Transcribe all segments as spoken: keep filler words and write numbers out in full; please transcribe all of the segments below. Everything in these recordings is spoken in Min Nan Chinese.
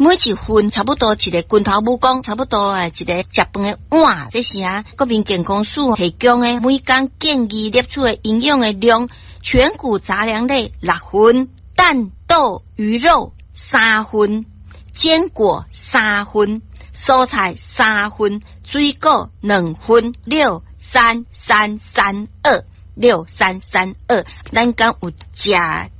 每一份差不多一个拳頭拇公，差不多啊一个食飯的碗。這是啊，國民健康署提供的每工建議攝取的營養的量，全穀雜糧類六份，蛋豆魚肉三份，堅果三份，蔬菜三份，水果兩份，六三三三二。六三三二，咱敢有食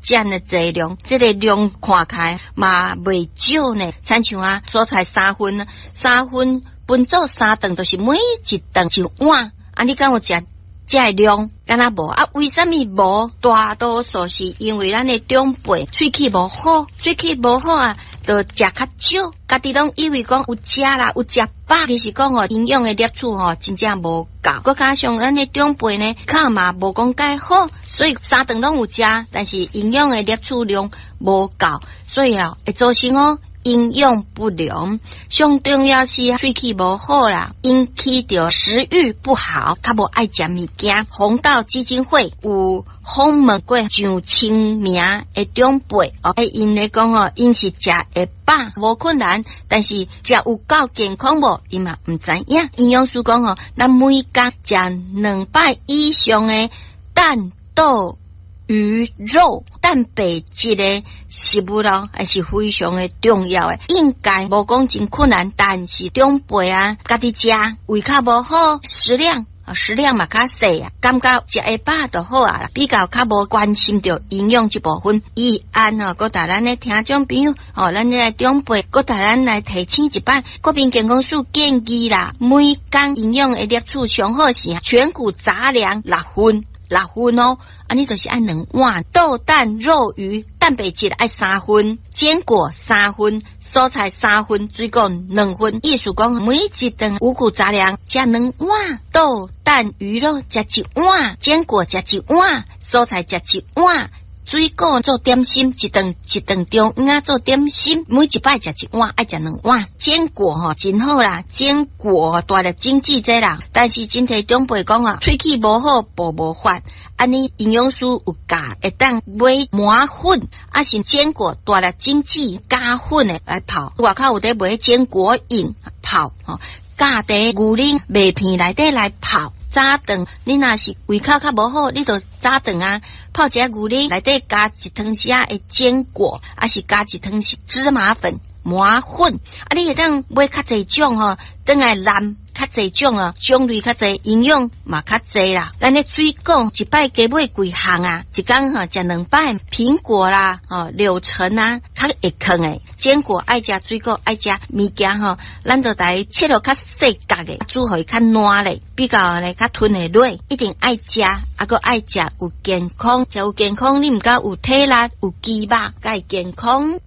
這樣的濟量？這個量看起來嘛袂少呢。親像啊，蔬菜三份，三份分做三頓，就是每一頓一碗。啊，你敢有食這個量？敢若無啊？為啥物無？大多數是因為咱的長輩喙齒無好，喙齒無好啊，就食較少，家己攏以為講有食啦，有食飽，其實講吼營養的攝取吼真正無夠。閣加上咱的長輩呢，口嘛無講介好，所以三頓攏有食，但是營養的攝取量無夠，所以啊會造成哦營養不良。上重要是喙齒無好啦，引起著食慾不好，較無愛食物件。弘道基金會有訪問過上千名的長輩哦，𪜶咧講哦，𪜶是食會飽無困難，但是食有夠健康無？𪜶嘛毋知影。營養師講哦，咱每工食兩擺以上的蛋豆魚肉蛋白質的食物咯，還是非常的重要的。應該無講真困難，但是長輩啊，家己食胃口無好，食量啊食量嘛較細啊，感覺食會飽就好啊啦，比較較無關心著營養這部分。伊按吼，閣帶咱的聽眾朋友，吼，咱這個長輩，閣帶咱來提醒一擺，國民健康署建議啦，每工營養的攝取上好是全穀雜糧六份。六份哦，按呢就是愛兩碗豆蛋肉魚蛋白質愛三份，堅果三份，蔬菜三份，水果兩份。意思講每一頓五穀雜糧食兩碗，豆蛋魚肉食一碗，堅果食一碗，蔬菜食一碗。水果做點心，一頓一頓中午仔做點心，每一擺食一碗，愛食兩碗。堅果吼真好啦，堅果大粒精緻這啦，但是真濟長輩講啊，喙齒無好，哺無法。按呢營養師有教，會當買磨粉，抑是堅果大粒精緻加粉的來泡。外口有佇賣堅果飲泡吼，加佇牛奶麥片內底來泡。早頓你若是胃口較無好，你就早頓啊泡一下牛奶，內底加一湯匙仔的堅果，抑是加一湯匙芝麻粉磨粉。啊，你會當買較濟種吼，轉來湳較濟種啊，種類較濟，營養嘛較濟啦。咱的水果一擺加買幾項啊，一工吼食兩擺蘋果啦，吼柳橙啊，較會囥的堅果愛食，水果愛食物件吼，咱就來切落較細角的，煮予伊較爛咧，比較咧較吞會落，一定愛食，啊閣愛食有健康，食有健康，你毋敢有體力，有肌肉，才會健康。